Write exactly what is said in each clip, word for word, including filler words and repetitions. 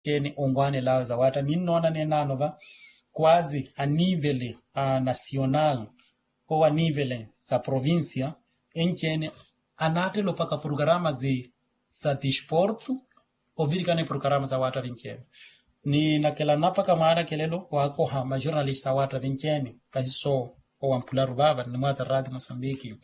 Enci-ene onwaanel'awe zawaatta ninnoona neenaano va, kwazi anivele a nasional owo anivele za provincia, enci-ene anaattela opaka programa za tisportu ovirikana eprograma zawaatta vinci-ene. Ni nakela napaka mwaanakelelo waakoha majornalista awaatta vinci-ene kasiso owampularu vaava ni mwaza rati mosambiki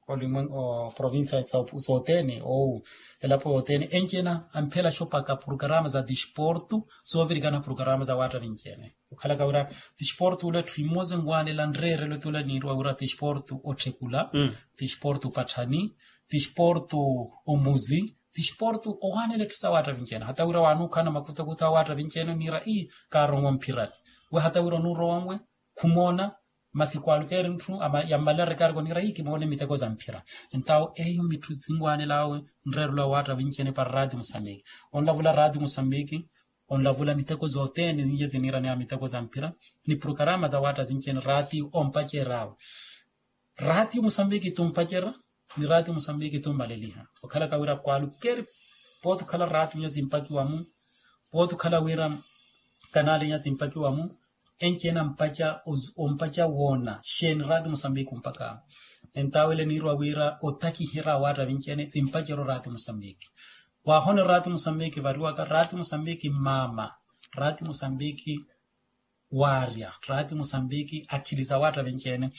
olimwe oprovincia sothene ou elapo yothene enci-ene amphelaxa opaka programa za tisportu soovirikana programa zawaatta vinci-ene. Okhalaka wira tisportu ula etthu emosa enwaanela nreerelo tula niiriwa wira tisportu otthekula, tisportu patthani, tisportu omuzi, tisportu owaanela etthu zawaatta vinci-ene hata wira wanuukhana makutakutha awaatta vinci-ene oniira ii kaaronwa mphirani. We hata wira onuurowa nwe khumoona masi kwaalukeeri ntthu yammalerekaari koniira ii kimoone miteko za mphira. Entawo eyo mitthu sinwaanel'awe nreerelo awaatta vinci-ene para rati mosambiki. Onlavula rati mosambiki onlavula miteko zothene ninje siniiraneya miteko za mphira ni programa zawaatta sinci-ene raatiyo ompacer'awe. Raatiyo mosambiki tumpacer'a ni raatiyo mosambiki tummaleliha. Okhalaka wira kwaalukeeri pooti okhala raatiyo inya simpakiwa-mu pooti okhala wira kanali inya simpakiwa-mu enci-ene ampaca ompaca woona xeeni raatiyo mosambiki ompaka. Entawo ele niiriwa wira otakiherya awaatta vinci-ene simpacerya oraatiyo mosambiki. Waahono raatiyo mosambiki variwaka raatiyo mosambiki mmaama raatiyo mosambiki waarya raatiyo mosambiki akhili zawaatta vinci-ene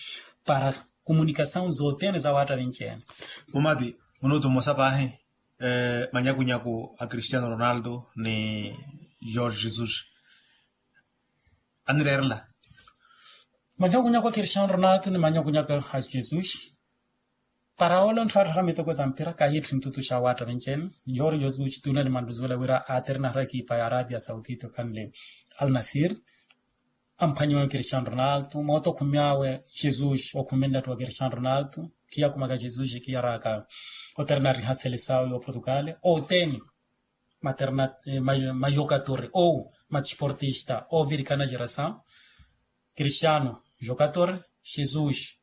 para komunikasawu zothene zawaatta vinci-ene. Mumati minutu mmosa paahi. Manyakunyaku a cristiano ronaldo ni jorge jesus anireerela. Manyakunyaku a cristiano ronaldo ni manyakunyaku a jesus para ole ontthatthatta miteko za mpira kahi etthu ntutu xa waatta vinci-ene. Jorge jesus tuna limanluzuwela wira aaterinaherya ekipa ya arabia saudita okhanle al nasir. Amphwanyiwa cristiano ronaldo moota okhumiyawe jesus okhuminle atthu wa cristiano ronaldo khiyakhumaka jesus khiyaraka oterina ariha selesawo y'oportugal othene materna majokatore ou matisportista ovirikana gerasawo. Cristiano jokatore jesus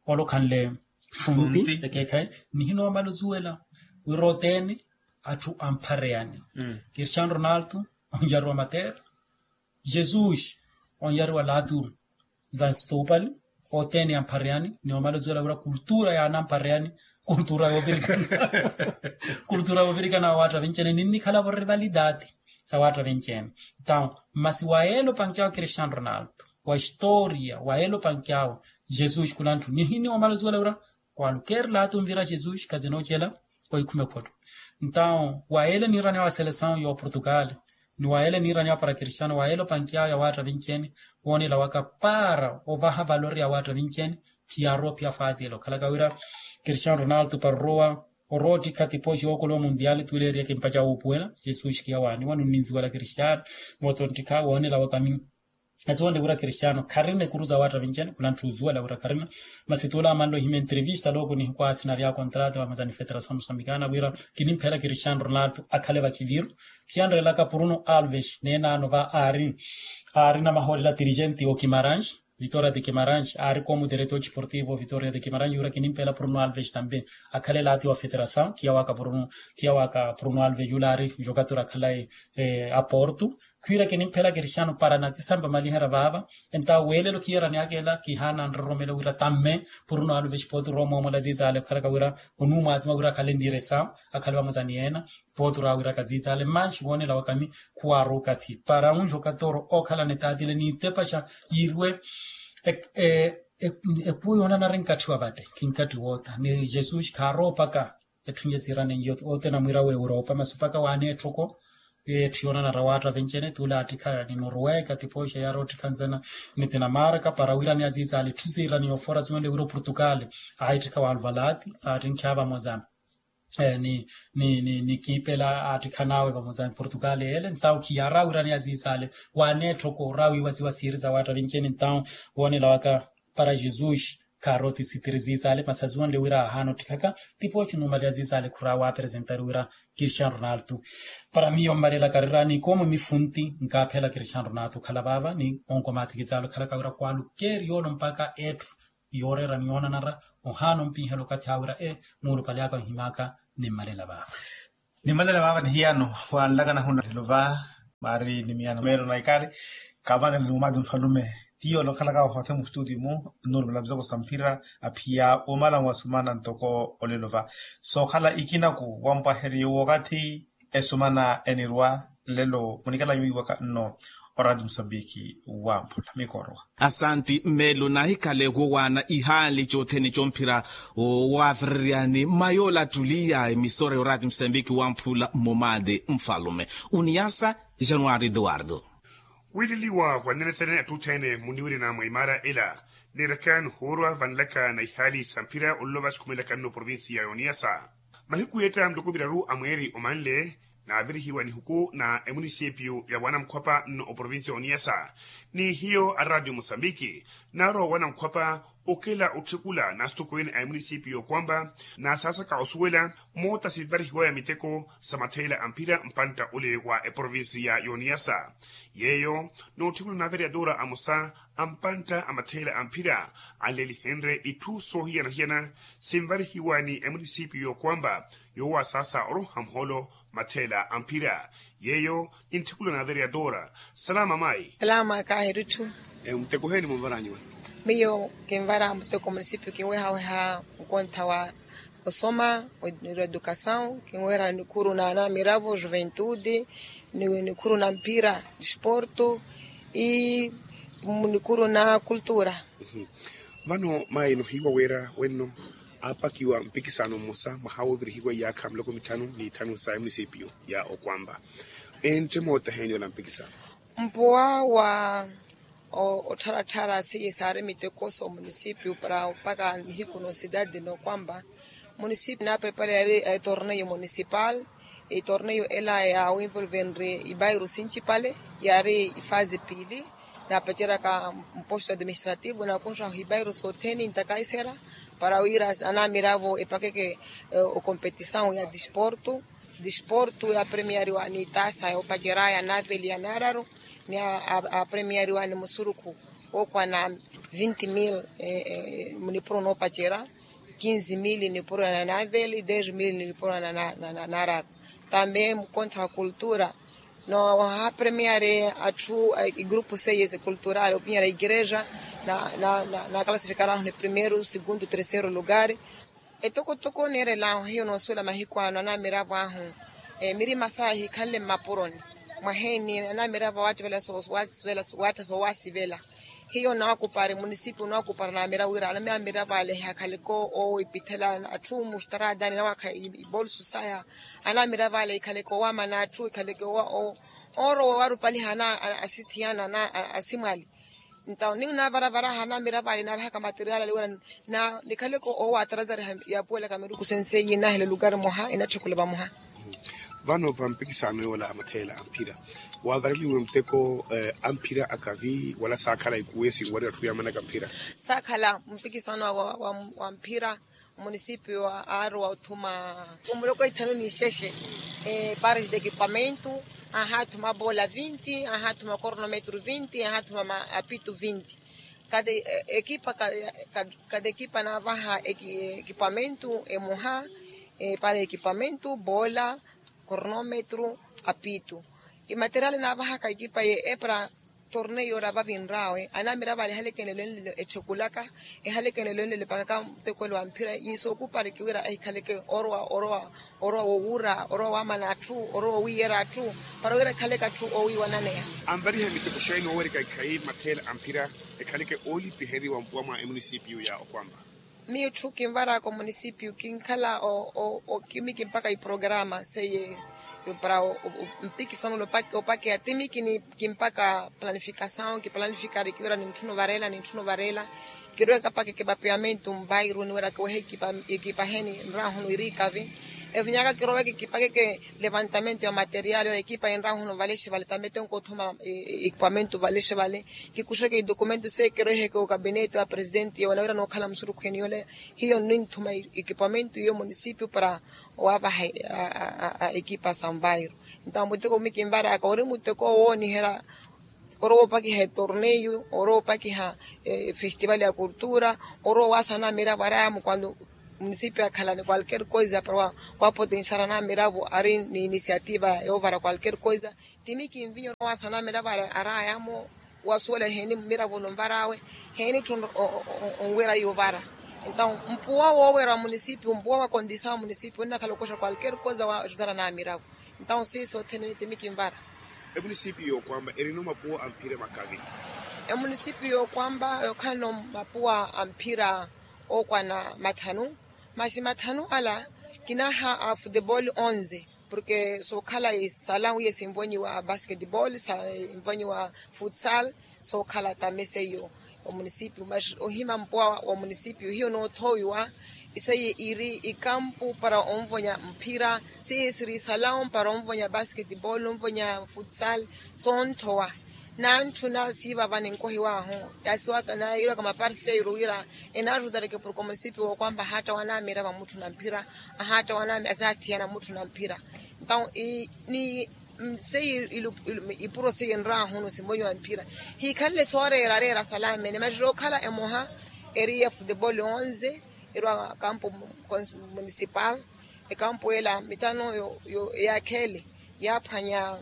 ole okhanle funti ekeekhayi. Nihinoomala ozuwela wira othene atthu amphareyani cristiano ronaldo onjariwa matera jesus onjariwa latu za nstopali othene amphareyani. Ni omala ozuwela wira kultura yaana amphareyani kultura yoovirikana kultura yoovirikana wa waatta vinci-ene ninnikhala-vo rivalidati sa waatta vinci-ene. Entawo masi wa yeela opankiyawe cristiano ronaldo wa historia wa yeela opankiyawe jesus khulanthu nihini omala ozuwela wira kwaalukeeri latu onvira jesus khazinoocela oikhume photto. Entawo wa yeela niiraneya wa selesawu y'oportugal ni wa yeela niiraneya para cristiano wa yeela opankiyawe ya waatta vinci-ene woonela waka para ovaha valori ya waatta vinci-ene. Khiyaarowa ophiya fasi ele okhalaka wira cristiano ronaldo para orowa orowa ottikha tipoxi yookola omundiali tuleeriye kimpaca wuupuwela jesus khiyawaaniwa nunninziwela cristiano moota onttikha woonela waka mi asuwonle wira cristiano kharina ekuru za waatta vinci-ene khulanthu ozuwela wira kharina. Masi tuula amanle ohimya entrevista looko nihikwaasinarya kontrata vamazani federasamu samikana wira kinimphela cristiano ronaldo akhale vakhiviru. Khiyanrelaka bruno alves neenaano va aari aari namahoolela dirigente okimarange vitoria de kimarange aari komu diretor disportivo vitoria de kimarange wira kinimphela bruno alves tambe akhale laati wa federasamu khiyawaka bruno khiyawaka bruno alves yula aari jokatori akhalaye aporto. Khwiira kinimphela cristiano para nakisampa maliherya vaava entawo weelelo khiyeraniyaka ela kihaana nroromelo wira tamme puru nowaluva exipootura omoomola ziizale okhalaka wira onuumwatima wira akhale ntiresawu akhale vamuzani yeena. Pootura wira kaziizale manxi woonela wakami khuwaaruka thi para unxi okatoro okhalana etaatile niitepaxa yiiriwe. Ekuwo yoonanari nkatthi wa vate khinkathi wootha ni jesus khaaroopaka. Etthu nje siirane nje othene amwiira wa europa masi opaka waaneetthoko. Etthu yoonanara waatta vencene tuula aattikha ni noruweka tipooxa yaari ottikha nzena ni tinamarka para wiirane aziizaale etthu siirane yoofora siwonle wiira oportugal. Aahittikha waaluva laati aattinkhiha vamoza ni ni ni ni kiipela aattikhanaawe vamoza ni portugal yeele ntawo khiyaara wiirane aziizaale. Waaneetthoko orawiiwa siwa siiri sa waatta vencene ntawo woonela waka para jesus. Khaari otisitiri ziizaale masi aziwonle wira aahaana ottikhaka tipooxa onuumaliha ziizaale khuraawa apresentari wira cristiano ronaldo. Para miyo mmalela karira ni koomo mifunti nkaaphela cristiano ronaldo okhala vaava ni onkomaatiki zaale okhalaka wira kwaalukeeri yoolo mpakha etthu yooreera ni yoonanara. Ohaana ompinhela okathi awe wira e muulupale aka onhimaka. Nimmalela vaava. Nimmalela vaava ni hiyano waanlakana huno lelo va Paari ni miyana meelo na ikari. Kavana ni umati mfalume, tiyo olokhalaka ohothe mustutiyo mu, nurumela muzoko sa mphira, aphiya omala mwasumana ntoko olelo va. Sookhala ikinaku wampwaheriye wookathi esumana enirwa. Lelo munikala nyuwiwaka nno orati musambiki wamphula mikorowa. Asanti mmelo nahikale wowaana ihaali cothene comphira. Wavereryani mayola attuliya emisora yorati musambiki wamphula mmomade mfalume uniyasa. Januari eduwardo. Wiileliwa wanenetsene attuthene muniwirina mwa imara ela, niiraka nihuurwa vanlaka na ihaali samphira ololova sikhumelaka nno provinsi ya yoniyasa. Mahiku yeetta nluku miraru a mweeri omanle, naavirihiwa nihuku na emunisipiyu ya wanamkhwapa nno oprovinsi ya oniyasa. Ni hiyo a radio mosambiki, naarwa wanamkhwapa okela otthikula na asitokweene a emunisipiyu y'okwamba, na saasaka osuwela moota sinvarihiwaya miteko sa matheela a mphira mpantta ole wa eprovinsi ya yoniyasa. Yeeyo, nootthikula na avereadora amosa a mpantta a matheela a mphira, anlelihenrye itthu soohiyana-hiyana sinvarihiwa ni emunisipiyu y'okwamba, yoowa saasa oroha muhoolo matheela a mphira. Yeeyo, nintthikula na avereadora. Salama mayi. Salama kaahiri itthu. Muteko oheeni munvaranyu? Miyo kinvara muteko munisipiyu kinwehaweha nkontha wa osoma, edukasawu, kinweherana nikhuru na anamiravo juventude, nikhuru na mpira disporto, i nikhuru na kultura. Vano mayi nohiiwa wira wenno aapakiwa mpikisano mmosa mwaha woovirihiwa iyaakha miloko mitthanu ni itthanu sa emunisipiyu ya okwamba, entte moota heeni ola mpikisano? Mpuwa wa ottharattharasi saari miteko so munisipiyu para opaka nihiku no sidadi no kwamba munisipiyu naaprepara yari etorneyu munisipal. Etorneyu ela ya winvolvenri ibairu sincipale yari ifazi piili. Naapaceraka mposto administrativu nakunxa hibairu sotheni ntakaisera para wira anamiravo epakeke okompetisawu ya disportu. Disportu ya premiariwa ni tasa ya opaceraya naveli ya nararu ni a premiariwa ni musurukhu wookwana vinti mil. Nipuro noopacera kinzi mil nipuro na naveli dez mil nipuro na nararu. Tambe mukontho wa kultura no ha premiari atthu igrupu seyes kulturali opinyara igreja na na na na kalasifikarahu ni primeru segundu tersero lugari. Etokotoko neerelaahu hiyo noosuwela mahiku ano anamiravo ahu mirima saya hikhanle mmapuroni mwaheeni anamiravo awattivela soowasivela hiyo naakupari munisipiyu naakupari anamiravo ale ehakhaleke oowipithela atthu mustaraadani nawaakha ibolsu saya. Anamiravo ale ikhaleke oowamana atthu ikhaleke oorowa owarupaliha ana asithiyana ana asimwali. Ntawo niyo naavaravaraha anamiravo ale naavahaka materiali aliwira nikhaleke oowatarazareha yaapuwelaka miruku senseiyi nahela olukari mwaha inatthikula vamuha. Vano va mpikisano yoola a matheela a mphira waavareliwe muteko a mphira akavi wala saakhala ikuwe sinwariwa atthu yaamanaka mphira. Saakhala mpikisano wa mphira. Munisipiyu aarowa othuma muloko ithanu n'ixexe pares de ekipamentu. Ahathuma bola vinti ahathuma kornometru vinti ahathuma apitu vinti. Kati ekipa kati ekipa naavaha ekipamentu emoha para ekipamentu bola kornometru apitu. Imateriali naavahaka ekipa ye epra torneyo ora vavinrawe anamiravo ale ehalekenlelo enlelo etthukulaka ehalekenlelo enlelo epakaka mutekwelo wa mphira. Yiiso okuparikiwira ehikhaleke orowa orowa orowa wowura orowa wamana atthu orowa wowiyera atthu para wira ekhaleke atthu owiwananeya. Anvariha miteko xeeni oowerika ikhayi matheela a mphira ekhaleke oolipiheriwa mpuwa mwa emunisipiyu ya okwamba. Miyo itthu kinvaraka omunisipiyu kinkhala okimiki mpaka iprograma seye para mpikisano opakeya timiki ni kimpaka planifikasawu kiplanifika arikiwira nintthuna ovarela nintthuna ovarela. Kiroweke apakeke vapeamentu mvairu niwira kiwehe ekipa ekipa heni nrahunu irikavi. Evinyaka kiroweke kipakeke levantamento ya materiali ora ekipa enrahunu valexe vale tambe tenko othuma ekipamentu valexe vale. Kikuxeke idokumento se kiroweheke okabinete wa presidenti yewala wira nookhala musurukhu eniyola hiyo ninthuma ekipamentu iyo munisipiyu para owavaha ekipa sanvairo. Entawo muteko mimi kinvaraka ori muteko owooniherya orowa opakiha etorneyu orowa opakiha efestival ya kultura orowa owasana miravo araya mukwando Munisipiyu akhala ni kwalker koisa para wapotensiara namiravo ari ni inisiativa yoovara kwalker koisa. Timi kinvinya orowaasa namiravo arayamo wasuwela heeni mmiravo nonvar'awe, heeni ttu onwira yuvara. Entaw mpuwa woowera wa munisipiyu mpuwa wa kondisa wa munisipiyu onnakhala okoxa kwalker koisa wa ajudara namiravo. Entaw siiso othene timi kinvara. Emunisipiyu yookwamba erino mapuwa a mphira makavi? Emunisipiyu yookwamba yookhalano mapuwa a mphira ookwana mathanu. Maxi mathanu ala kinaha a futebol onze, porke sookhala isala wiye sinvonyiwa basketbol sinvonyiwa futsal. Sookhala tame seiyo omunisipiyu maxi ohima mpuwa wa munisipiyu hiyo noothoowiwa. Iseiye iri ikampu para onvonya mphira, seiye siri isalawo para onvonya basketbol onvonya futsal. Soonthowa nantthuna siivava ninkohiw'ahu. Yaasiwaka nayiirwaka maparseiru wira enaarutareke porke omunisipiyu wookwamba ahaatta wanaamira vamutthu na mphira. Ahaatta wanaamira asinathiyana mutthu na mphira. Entaw ni seiye ipuro seiye enr'ahu no sinvonyiwa mphira. Hiikhanle sooreera areera salamene maxi rookhala emoha eri ya futebol onze. Erwa kampu munisipal. Ekampu ela mitano eyaakheele yaaphwanya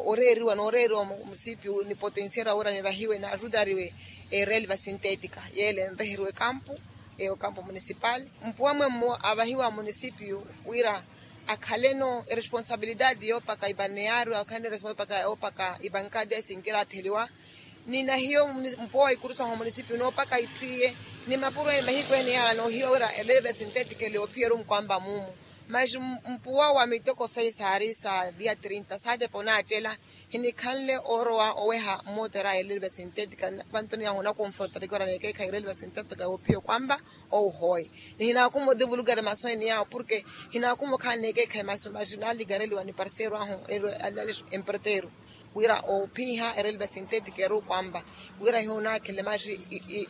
oreeriwa nooreeriwa musipiyu ni potensiera wira nivahiwe naajutariwe. Erelva sintetika yeele enreheriwe kampu eyo kampu munisipal. Mpuwa mwemmo avahiwa munisipiyu wira akhaleno eresponsabilidade yoopaka ipanneyaari akhaleno eresponsabilidade yoopaka ipankadi esinkira atheliwa. Ni nahiyo mpuwa wa ikurusaho munisipiyu noopaka itthu iye ni mapuro ene mahiku ene yaala noohiwa wira elelve sintetika ele oophiyeru nkwamba muumu. Maxi mpuwa wa miteko sayi saari sa dia trinta saatepa onaattela hinikhanle oorowa oweha mmootera a elelve sintetika. Pantoni yahu onakonfrontareke ora neekeekhayi erelve sintetika yoophiya okwamba ouhooyi. Ni hinaakuma odivulukari masu ene yawo porke hinaakuma okhala neekeekhayi masu maxi naalikareliwa ni parseiro ahu emperteiro wira oophiha erelva sintetika eri okwamba wira hiyo onaakhele maxi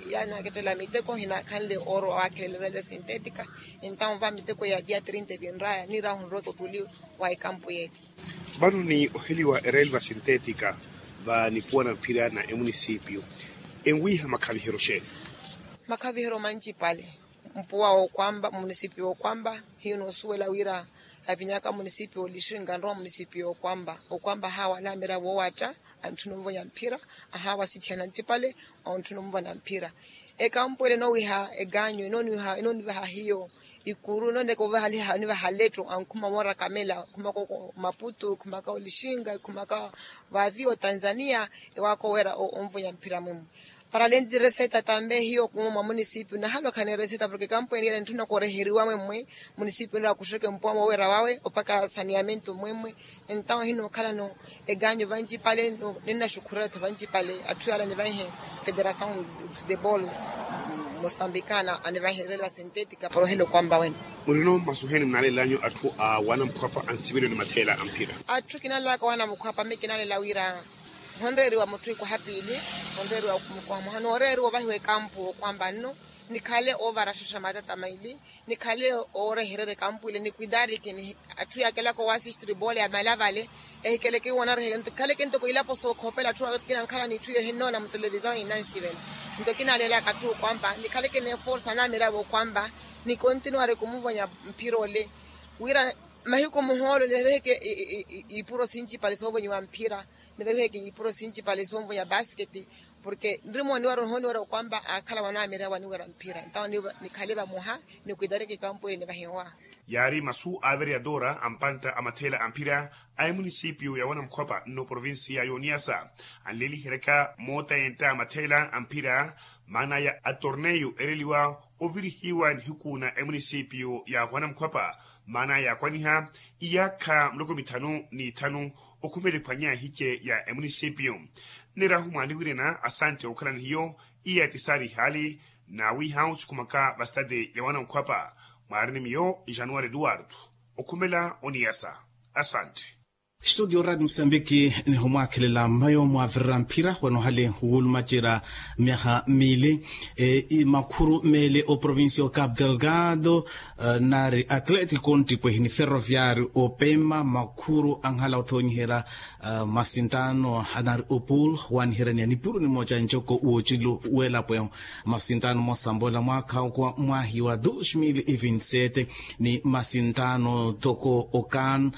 yanaakettela miteko hinaakhanle oorowa waakhelela erelva sintetika. Entaw va miteko ya dia trinta evinraya niirahu nroke ottuli wa ekampu yeeli. Vano ni oheliwa erelva sintetika va nipuwa na mphira na emunisipiyu enwiiha makhaviheryo xeeni? Makhaviheryo mancipale. Mpuwa wookwamba munisipiyu wookwamba hiyo noosuwela wira avinyaka munisipiyu olixinka nrowa munisipiyu wookwamba okwamba ahaawa anaamira woowatta antthuna onvonya mphira. Ahaawa sitthiyana ntipale ontthuna onvonya mphira. Ekampu ele enoowiha eganyu enoonivaha hiyo ikuru enooneka ovaha letto ankhuma moorakamela khumaka omaputu khumaka olixinka khumaka vaaviwa otanzania. Ewaaka oweera onvonya mphira mwemmo para alenti reseta tambe hiyo kumwa mwa munisipiyu nahalokhani reseta porke ekampu eni ele ntthuna koreheriwa mwemwe. Munisipiyu nira akuxeke mpuwa moowera wawe opaka saneamento mwemwe. Entaw hinookhalano eganyu vancipale ninnaxukhurela tho vancipale atthu yaala anivaihe federasaw de bol mosambikana anivaihe relva sintetika para ohela okwamba wene. Murino masu heeni munaalelanyu atthu a wanamukhwapa a nsivelelo ni matheela a mphira? Atthu kinaalelaka wanamukhwapa mi kinaalela wira honreeriwa mutthu ikwaha piili honreeriwa mukhwaha nooreeriwa ovahiwa ekampu okwamba nno nikhale oovara xaxa matata maili nikhale oorehererya ekampu ile ni kuidariki ni atthu yaakelaka owaasistiri boole ya malavale. Ehikeleke iwo onareheke nto khaleke ntoko ilapo sookhopela atthu akina nkhala n'itthu iyo ehinnoona mutelevisaw hinansivela. Nto kinaalelaka atthu okwamba nikhaleke n'eforsa anamiravo okwamba nikontinuwari kumuvonya mphira ole wira mahiku muhoolo niveveheke ipuro sincipale soovonyiwa mphira niveveheke ipuro sincipale soovonyiwa basketi. Porke nrimooniwara ohooniwara okwamba akhala wanamiravo aniwira mphira ntawo nikhale vamoha ni kwitareke ekampu ele nivahiwa. Yaari masu a vereadora a mpantta a matheela a mphira a emunisipiyu ya wanamukhwapa nno provincia y'oniyasa anleliheryaka moota yentta a matheela a mphira maana ya atorneyu ereliwa ovirihiwa nihiku na emunisipiyu ya wanamukhwapa maana yaakwaniha iyaakha muloko mithanu n'ithanu okhumela ephwanya ehice ya emunisipiyu. Nirahu mwaaniwirina asantte okhalani hiyo iya etisaari ihaali naawiiha osukumaka vastade ya wanamukhwapa mwaarini miyo januwari eduwardo okhumela oniyasa. Asantte. Studio radio musambiki, nihumwakhelela mmayo mwavirira mphira wanohale wuulumacerya myaha miili. Makhuru meeli oprovincia o cape delgado, nari atlético ntipwehi ni ferroviario opema makhuru anhala othonyiherya masinttano anari opul waniherya ni anipuru nimoca ncoko woocilu welapo ehu. Masinttano mosambola mwaakha okwa mwahi wa dos mil e vinti sete ni masinttano toko okan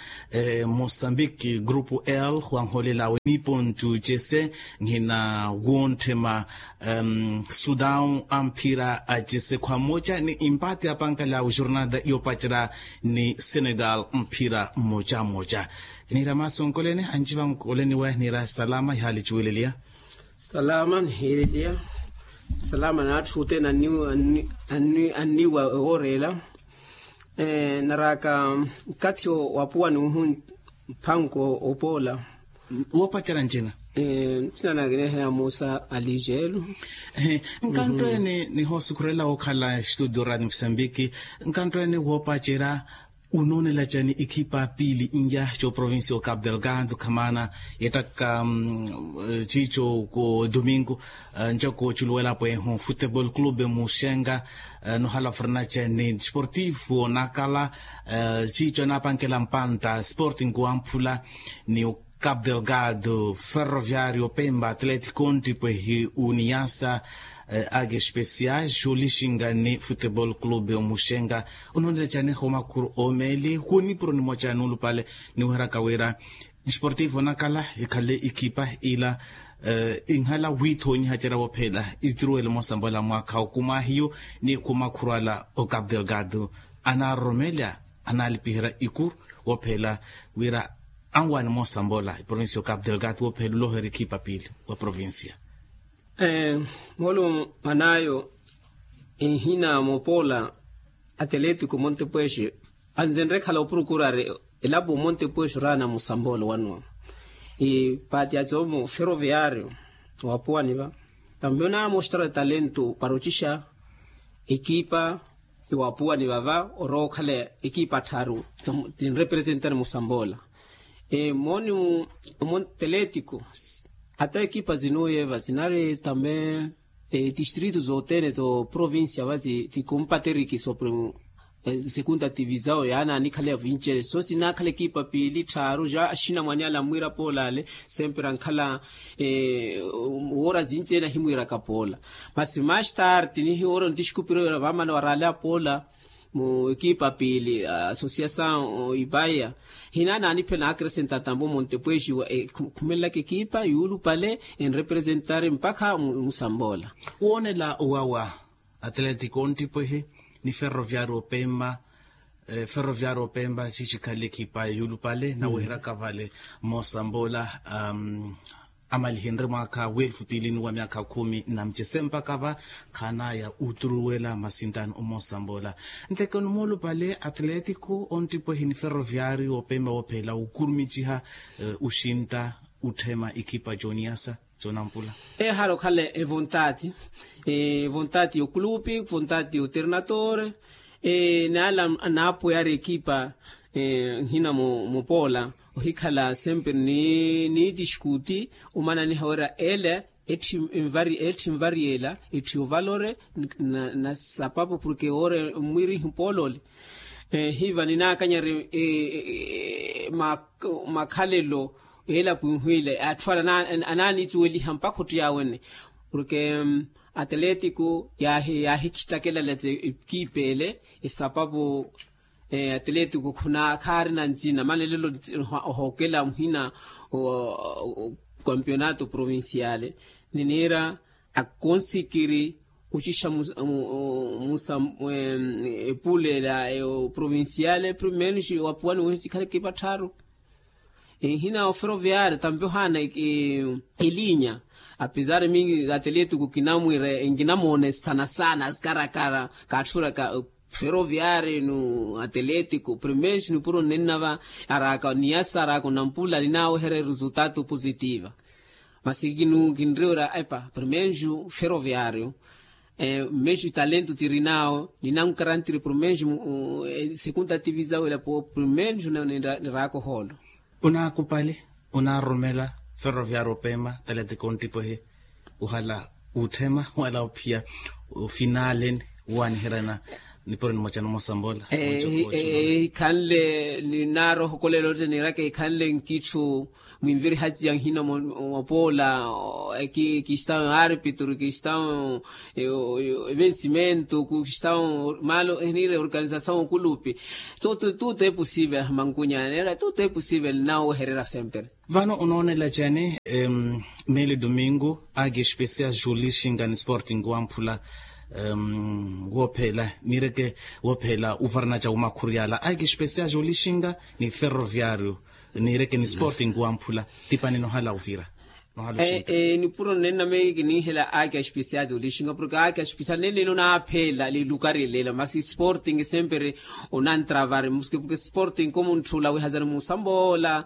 mosambiki grupu l wanholela awe ni pontu cese nhina wonthema sudaw amphira acese khwamoca ni impate apankale awe jornada yopacerya ni senegal mphira mocamoca. Nira maasi onkolene anci vankolene we nira salama ihali ciweleliya. Salama nihiileliya. Salama n'atthu othene anniwa ewoorela. Naraaka nkathi wapuwa ni uhu mphanko opoola. Woopacerya ncina? Ncina naakinehela musa alijelu. Nkanttweene nihoosukhurela wookhala estudio radio musambiki. Nkanttweene woopacerya unoonela cani ikhipa piili nja coprovincia o cape delgado khamaana yettakka ciico ko domingo. Ncoko culuwelapo ehu futebol clube muxenga nohala furnace ni desportivo nakala. Ciico anaapankela mpantta sporting wamphula ni o cape delgado ferroviario pemba atlético ntipwehi uniyasa. Ake especiais olixinga ni futebol clube omuxenga. Onoonela cani homakhuru omeeli khunipuro nimoca nuulupale niweheraka wira desportivo nakala ikhale ikhipa ila inhala wiithonyiha cera woophela ituruwele mosambola mwaakha okumwahiyo ni khumakhuru ala o cape delgado anaaroromela anaalipiherya ikuru woophela wira anwaani mosambola iprovincia o cape delgado woophela oloherya ikhipa piili wa provincia. Moolumo mwanaayo enhina moopoola atlético montepuexe anzenre khala opurukurari elapo montepuexe oraana musambolo wanwa. Ipaati ya tsomo ferroviario wapuwaniva tambi onaamostara talento para ocixa ekipa iwapuwaniva va orowa okhala ekipa attharu tinrepresentari musambolo. Mooni omo teletico ata ekipa zinuyeva zinari tambi etistrito zothene to provincia va ti compateriki sobre segunda tivisao yaani anikhaleya vinceene so tinaakhala ekipa piili tthaaru ja axinamwani ale amwiira poolale sempre ankhala woora zinceene ahimwiiraka poola. Masi mastart nihiwoora ontixikupiro vaamana waraaleya poola mu ekipa piili associasaw ipaya hinaana aniphela naakresenta tambo montepuexiwa ekhumelelaka ekipa yuulupale enrepresentari mpakha musamboola. Woonela owawa atlético ontipwehe ni ferroviario pemba. Ferroviario pemba cici khale ekipa yuulupale naweheraka vale moosamboola amalihenrye mwaakha weelfu piili ni wa myaakha khumi na mucese mpakha va khaanaya oturuwela masintano omoosamboola. Ntheke onimoolupale atlético ontipwehe ni ferroviario opemba woophela wukurumiciha oxintta otthema ekipa jooniasa. Ehaala okhala evontati evontati yokulupi vontati yoternatore naala naapweyari ekipa nhina mupoola ohikhala sempre ni nitixkuti omananiha wira ele etthi nvariyela etthi ovalore na sapapu porke woore mmwirihi poolole. Hiva ninaakanyari makhalelo elapo inhwiile atthu ale anaanitsuweliha mpakha ottiyawene porke atlético yaahikhittakela letse ekipa ele esapapu atlético khuna khaarina ncina manelelo ohookela muhina wa campeonato provinciale niniira akonsikiri oxixa musa epulela provinciale primeiro wapuwani wohisi khale ekipa tthaaru. Enhina oferoviario tambi ohaana elinya apesar mingi atlético kinamwiira enkinamoone sana sana asikarakara kaatthuraka feroviario no atlético primeiro nipuro nnennava araaka niyasa araaka onampula ninaaweherya resultado positiva. Masi kinriwira epa primeiro feroviario mexi talento tirinao ninankarantiri primeiro segunda tivisao elapo primeiro niraaka ohoolo. Onaakupali, onaaroromela ferroviario opema talatiko onttipwehe, ohala, otthema ohala ophiya ofinaleni, owaaniheryana nipuro nimoca nomosambola. Ehikhanle ninaarohokolela otte niiraka ehikhanle nkitthu mwinvirihaciya nhina mopoola. Kistão árbitro kistão, vencimento kistão malo niire organização okulupi. Tutu é possível mankunya neera tutu é possível nnawehererya sempre. Vano onoonela cani? Meeli domingo aki especial julixinga ni sporting wamphula, woophela niireke woophela uvarana ca umakhuri ala aki especial julixinga ni ferroviario niireke ni sporting wamphula. Tipani nohala ovira. Nipuro nnenameki kininhela aki aspisiati olixinga porke aki aspisiati nenlene onaaphela lilukari lela masi sporting sempre onantravari muske porke sporting komuntthu ola wihazani musambola.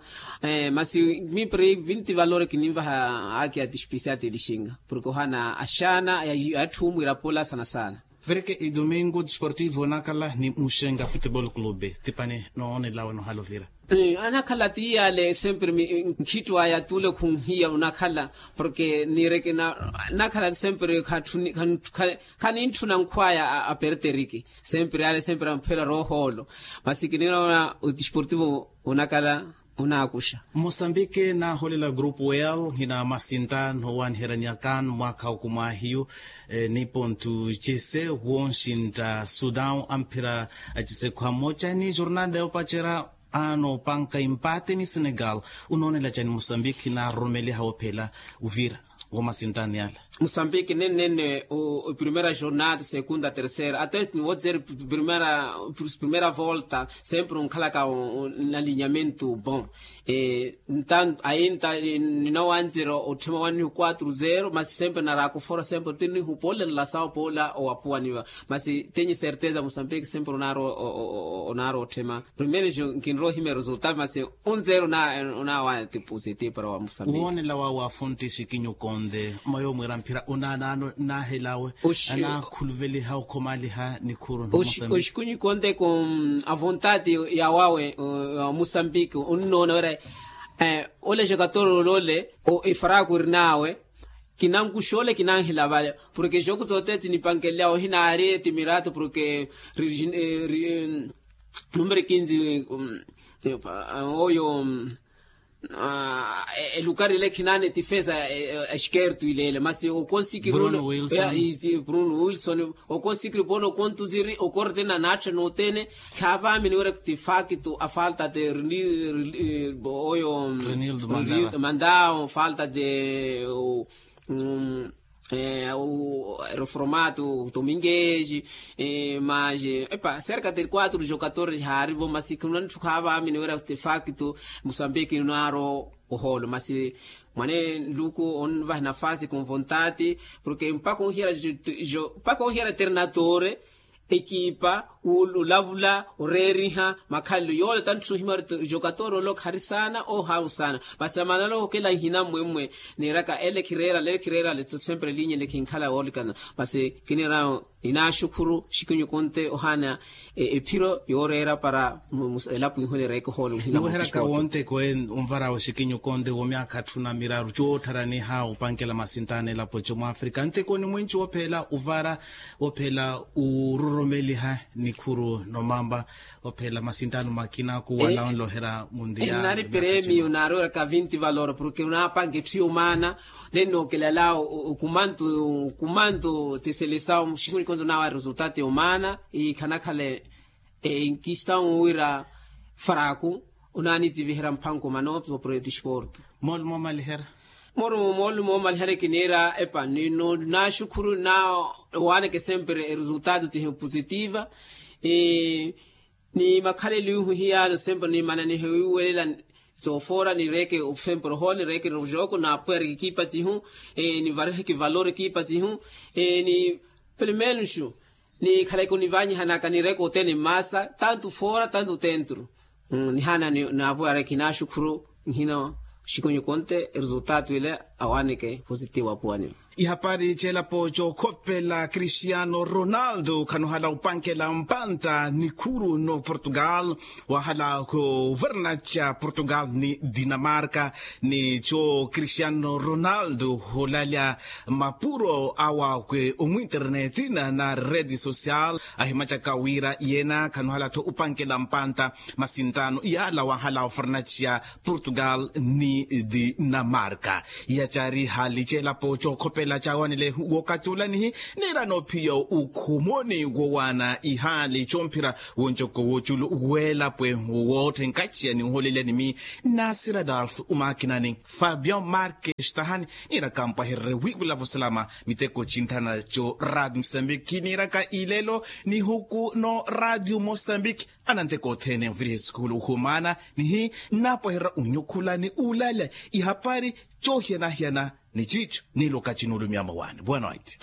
Masi mipre vinti valore kininvaha aki aspisiati olixinga porke ohana axana atthumwira pola sana sana. Vereke idomingo desportivo onakhala ni muxenga futebol clube tipani noonelawe nohala ovira. Anakhala ti yale sempre nkhitto aya tule khunhiya onakhala porke nireke nakhala sempre khanintthuna nkhwaya aperteriki sempre yale sempre amphela rohoolo. Masi kinira ona odesportivo onakhala onaakuxa. Mosambike naaholela grupo l hina masinta nowaaniherya nyakan mwaakha okumwahiyu. Nipontu cese wonshintta sudan amphira acise khwa mmoca ni jornada yoopacerya. Anoopanka empate ni senegal. Onoonela cani mosambike naaroromeliha woophela ovira womasintani ala? Mosambike nennene o primeira jornada segunda terceira até niwodzeri primeira volta sempre onkhalaka nalinyamento bom. Ntanto ainta ninawanzira otthema wannihu quatro zero masi sempre naraakufora sempre tinnihu poola nlasawo poola owapuwaniwa. Masi tenho certeza mosambike sempre onaari otthema primeiro nkinrohimya resultado masi un zero onaawa ti positivo para wa mosambike. Woonela wawe afonti xikinyu konde mwayo mwira mphira onaanaano nahelawe anaakhuluveliha okhomaliha nikhuru. Oxikunyu konde ko avontati yawawe wa mosambike onnoona wira ole jokator olole efaraku eri nawe kinankuxa ole kinanhela vale porke joku zote tinipankelelyawe ohinaari timiratu porke numero kinzi oyo elukari ile khinani tifesa eskertu ilele masi okonsikiri bruno wilson okonsikiri pono okontuziri okorte na natha notene. Khavamini wira tifakto afalta de oyo mandao falta de reformatu tomingeji. Mas epa cerca de quatro jogadores haarivo masi khunanithu khavamini wira tifakto musambiki naro oholo masi mwane nluku onvaha nafasi convontati porke mpaka onhiyara mpaka onhiyara eternatore ekipa olavula oreeriha makhalelo yoole tantthuna ohimya ori jogador ole okhari saana ohawu saana. Masi amanalo okela nhina mmwemmwe niiraka ele khireerale ele khireerale sempre linya ele khinkhala woolikana. Masi kinirawo ninaaxukhuru xikinyu konte ohaana ephiro yooreera para elapo iho nireeke ohoolo niweheraka wonte koye onvarawo xikinyu konte womyaakha atthu na miraru cootharaniha opankela masintaani elapo co mwafrika ntekoni mwinci woophela ovara woophela ororomeliha nikhuru nomamba. Ophela masintaano makina kuwala onloherya mundiya nari premio nari oraka vinti valor porke onaapanka etthu yomaana. Nennookelela okumantu okumantu tiselesawo muxikunyi konto nawa resultado yomaana ikhanakhale. Nkistão wira fraco onaaniziviherya mphanko mano sopro ya desporto. Moolumo omaliherya moolumo omaliherya kiniira epa ninaxukhuru na owaaneke sempre eresultado tihi positiva. Ni makhalelo ihu hiyano sempre nimananihe wiiwelela soofoora nireeke sempre ohoole nireeke nrojoko naapwereke ekipa tihu. Nivariheke valor ekipa tihu ni pelo menos nikhaleke onivanyihanaka nireeke othene mmaasa tanto foora tanto tentro. Nihaana naapuwareke naaxukhuru nhina xikunyu konte eresultado ile awaaneke positivo apuwaniwa. Ihapari celapo cokhopela cristiano ronaldo khanohala upankela mpanta nikhuru no portugal, wahala khuverna ca portugal ni dinamarka. Ni co cristiano ronaldo hulalya mapuro awa kwe omwinternetina na redi social ahimacaka wira yena khanohala tho upankela mpanta. Masintano yala wahala uverna ca portugal ni dinamarka. Yacari hali celapo cokhopela cawanile wokatulanihi nira nophiya ukhumoni wowana ihali comphira woncoko woculu welapwe wotthenkaciya ni uholelya nimi nasira dalf umakinani fabian marques tahani. Nira kampwahererye wiwula vosalama miteko cinthana co rad msambiki niraka ilelo nihuku no radio mosambiki. Ananteko othene oviriha esukulu uhumana nihi napwehererya unyukhula ni ulale ihapari cohiyanahiyana ni cico niloka cinulumya mawane boa noite.